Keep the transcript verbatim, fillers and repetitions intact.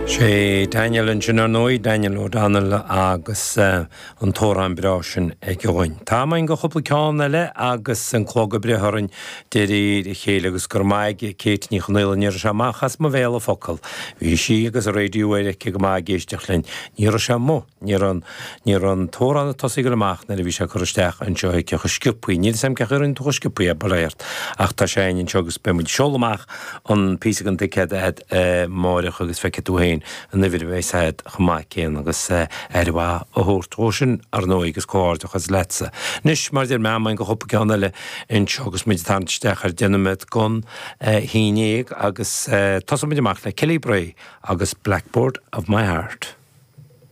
Sé Daniel ansin ar ndóigh, Daniel O'Donnell agus an t-amhrán breá sin aige dhúinn. Tá am againn do chúpla ceann eile agus an clog ag breith orainn de réir a chéile agus go raibh maith ag Kate Ní Chonaola, ní raibh sé amach as mo bhéal an focal. Bhí sí agus an raidió air aici go maith ag éisteacht linn. Ní raibh sé amuigh, ní raibh ní raibh an t-amhrán ag tosaí ag dul amach nuair a bhí sé curtha isteach anseo aici chomh sciobthaí. Níl a fhios agam cén chaoi a rinne tú chomh sciobthaí é, bail ó Dhia ort. Ach tá sé againn anseo agus beidh muid ag seoladh amach an píosa den ticéad agat amárach agus feicfidh tú féin an uimhir a bheas agat chomh maith céanna agus aire mhaith a thabhairt dhó sin ar ndóigh agus comhghairdeachas leatsa. Anois mar a deir mé am againn do chúpla ceann eile anseo agus muid ag tarraingt isteach ar deich nóiméad don haon déag agus tosóidh muid amach le Kelly Bray agus Blackboard of My Heart.